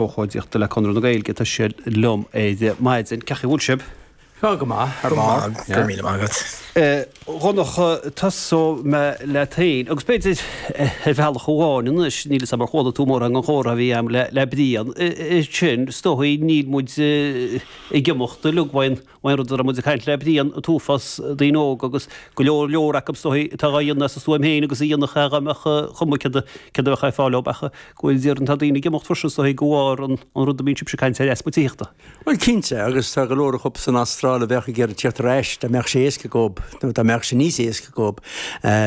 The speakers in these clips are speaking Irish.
Ócáidíochta le Conradh na Gaeilge. Tá sé liom ar maidin. Cén chaoi a bhfuil sibh? Tá go maith, thar barr. Go maith, go raibh míle maith agat. A Dhonncha, tosóidh mé leat féin, agus b'fhéidir ar bhealach amháin anois, níl 'fhios a'm ar chuala tú mórán den chomhrá a bhí a'm le Brian, sin, is dóigh, níl muid ag imeacht uilig uaidh an An rud a raibh muid ag caint le Brian, an t-uafás daoine óga agus go leor leor acu is dóigh atá á dhéanamh as a stuaim féin agus a dhéanfadh é dá mbeadh cuma céard a bheadh ar fáil leo ach go bhfuil déarfainn tá daoine ag imeacht freisin is dóigh de bharr an rud a mbíonn sibhse ag caint air, easpa tithíochta. Bhuel cinnte agus tá go leor acu san Astráil a bheadh ag iarraidh tíocht ar ais dá mbeadh sé éasca dhób nó dá mbeadh sé níos éasca dhób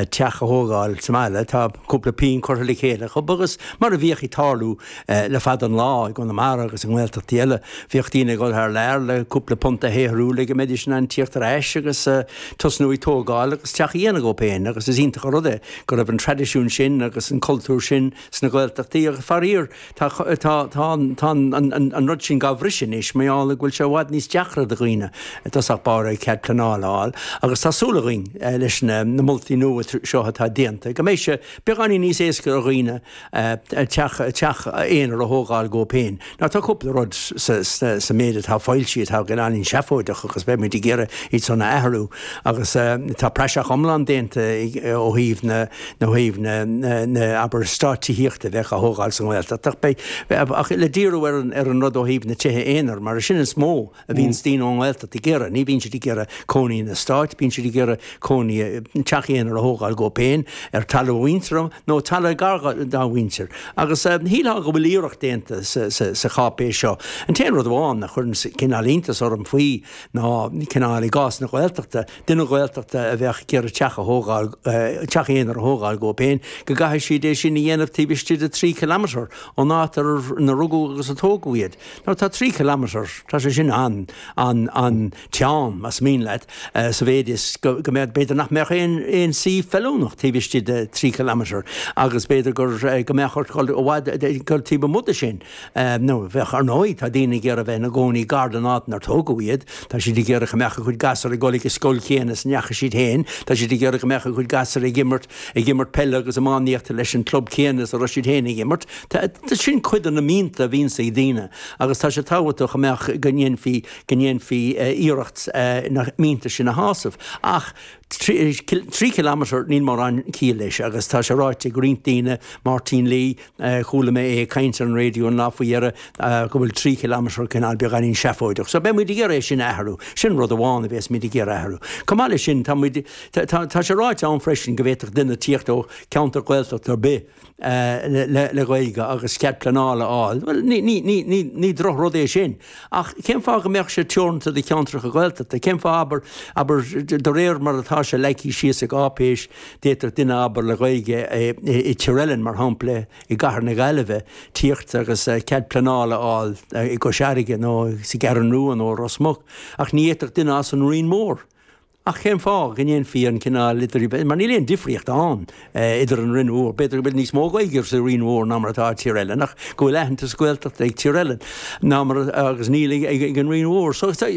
teach a thógáil sa mbaile. Tá cúpla pingin curtha le chéile acu agus mar a bhíodh ag tarlú Le fada an lá, i gConamara agus i nGaeltachtaí eile, bhíodh daoine ag dul thar lear le cúpla punt a shaothrú le go mbeidís in ann tíocht ar ais agus tosnú ag tógáil agus teach a dhéanamh dhóibh féin agus is iontach an rud é go raibh an traidisiún sin agus an cultúr sin sna Gaeltachtaí agus faraor tá tá tá tá an rud sin dhá bhriseadh anois mar gheall go bhfuil sé i bhfad níos deacra do dhaoine i dtosach báire cead pleanála a fháil agus tá súil againn leis na moltaí nua seo atá déanta go mbeidh sé beagáinín níos éasca ar dhaoine teach teach aonair a thógáil dhóibh féin. Now tá cúpla rud sa méid atá foilsithe atá cineáilín seafóideach agus beidh muid ag iarraidh iad san a athrú agus tá praiseach iomlán déanta ó thaobh na ó thaobh na na abair eastáit tithíochta a bheadh á thógáil sa nGaeltacht ach beidh ach le díriú ar an ar an rud ó thaobh na tithe aonair mar sin is mó a bhíonns daoine ón nGaeltacht ag iarraidh. Ní bhíonn siad ag iarraidh cónaí in eastáit, bíonn siad ag iarraidh cónaí, teach aonair a thógáil dhóibh féin ar talamh a mhuintire nó talamh gar dá mhuintir. Agus shílfeá go bhfuil iarracht déanta sa cháipéis seo. An t-aon rud amháin a chuireann cineál iontas orm faoi ná cineál i gcás na Gaeltachta, duine Gaeltachta a bheadh ag iarraidh teach a thógáil, teach aonair a thógáil dhóibh féin, go gcaithfidh siad é sin a dhéanamh taobh istigh de 3 kilometre ón áit ina rugadh agus a tógadh iad. Now tá 3 kilometre, tá sé sin an, an, an-teann, más mian leat, sa mhéid is go, go mbeadh, b'fhéidir nach mbeadh aon, aon suíomh feiliúnach taobh istigh de 3 kilometre agus b'fhéidir gur, go mbeadh ort dul i bhfad, dul taobh amuigh de sin. Nó bheadh, ar ndóigh, tá daoine ag iarraidh bheith ina gcónaí gar don áit inar tógadh iad, tá siad ag iarraidh go mbeadh a gcuid gasúr ag dul ag an scoil chéanna is a ndeachaigh siad féin, tá siad ag iarraidh go mbeadh a gcuid gasúr ag imirt, ag imirt peile agus iománaíochta leis an club céanna is a raibh siad féin ag imirt. Sin cuid de na mianta a bhíonns ag daoine agus tá sé tábhachtach go mbeadh, go ndéanfaí, go ndéanfaí iarracht na mianta sin a shásamh. Ach 3 kilometre, níl mórán ciall leis agus tá sé ráite ag roinnt daoine, Máirtín Lee, chuala mé é ag caint ar an raidió an lá faoi dheireadh, go bhfuil 3 kilometre cineál beagáinín seafóideach. So beidh muid ag iarraidh é sin a athrú. Sin rud amháin a bheas muid ag iarraidh athrú. Chomh maith leis sin, tá muid, tá sé ráite ann freisin go bhféadfadh duine tíocht ó cheantar Gaeltachta ar bith, le Gaeilge agus cead pleanála a fháil. Bhuel, ní drochrud é sin. Ach cén fáth go mbeadh sé teoranta do cheantracha Gaeltachta? Cén fáth, abair, abair, de réir mar atá sé leagtha síos sa gcáipéis, d'fhéadfadh duine, abair, le Gaeilge i Tír Oileáin, mar shampla, i gcathair na Gaillimhe, tíocht agus cead pleanála a fháil i gCois Fharraige nó sa gCeathrú Rua nó i Ros Muc. Ach ní fhéadfadh duine as an Rinn Mhór Ach cén fáth go ndéanfaí an cineál idir, mar níl aon difríocht ann idir an Rinn Mhór, b'fhéidir go bhfuil níos mó Gaeilge sa Rinn Mhór ná mar atá i Tír Eilean, ach go bhfuil aitheantas Gaeltachta ag Tír Eilean ná mar, agus níl ag an Rinn Mhór. So tá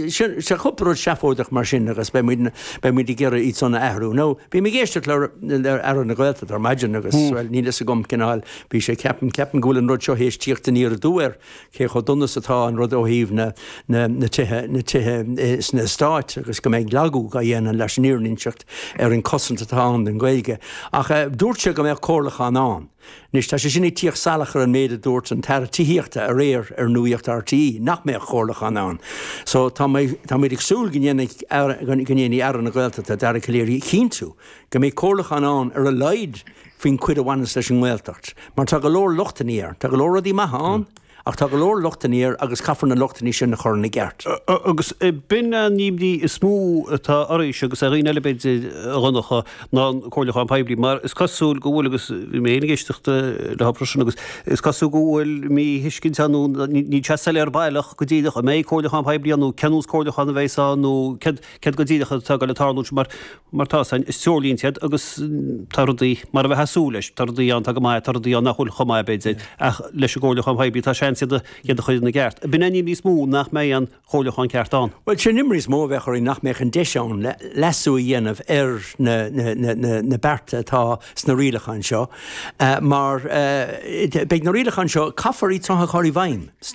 cúpla rud seafóideach mar sin agus beidh muid, beidh muid ag iarraidh iad san a athrú. Now, bhí mé ag éisteacht le, le Aire na Gaeltachta ar maidin agus, bhuel, níl fhios agam cineál, bhí sé, ceapaim, ceapaim go bhfuil an rud seo théis tíocht aniar aduaidh air. cé chomh dona is atá an rud ó thaobh na na tithe na tithe sna eastáit agus go mbeidh lagú á dhéanamh leis an fhírinne a inseacht ar an cosaint atá ann don Ghaeilge. Ach dúirt sé go mbeadh comhairliúchán ann. Anois tá sé sin ag tíocht salach ar an méid a dúirt an tAire Tithíochta aréir ar Nuacht RTÉ, nach mbeadh comhairliúchán ann. So tá mé tá muid ag súil go ndéanfaidh go ndéanfaidh Aire na Gaeltachta, Dara Calleary, cinntiú go mbeidh comhairliúchán ann ar a laghad faoin chuid a bhaineas leis an nGaeltacht, mar tá go leor lochtanna air. Tá go leor rudaí maithe ann, ach tá go leor lochtanna air agus caithfear na lochtanna sin a chur ina gceart. Agus b'in an imní is mó atá oraibhse agus ar dhaoine eile b'fhéidir, a Dhonncha, ná an comhairliúchán poiblí, mar is cosúil go bhfuil, agus bhí mé féin ag éisteacht leo freisin, agus is cosúil go bhfuil míthuiscint ann nó níl sé soiléir baileach go díreach an mbeidh comhairliúchán poiblí ann nó cén nós comhairliúchán a bheas ann nó céard go díreach atá ag dul a tarlúint mar Mar tá, is treoirlínte iad agus tá rudaí mar a bheifeá ag súil leis, tá rudaí ann atá go maith, tá rudaí ann nach bhfuil chomh maith b'fhéidir, ach leis an gcomhairliúchán poiblí tá seans. seans iad a chur ina gceart. B'in é an imní is mó nach mbeidh an comhairliúchán ceart ann. Bhuel, sin an imní is mó a bheadh orainn nach mbeadh an deis ann le leasú a dhéanamh ar na bearta atá sna rialacháin seo mar beidh na rialacháin seo, caithfear iad seo a chur i bhfeidhm.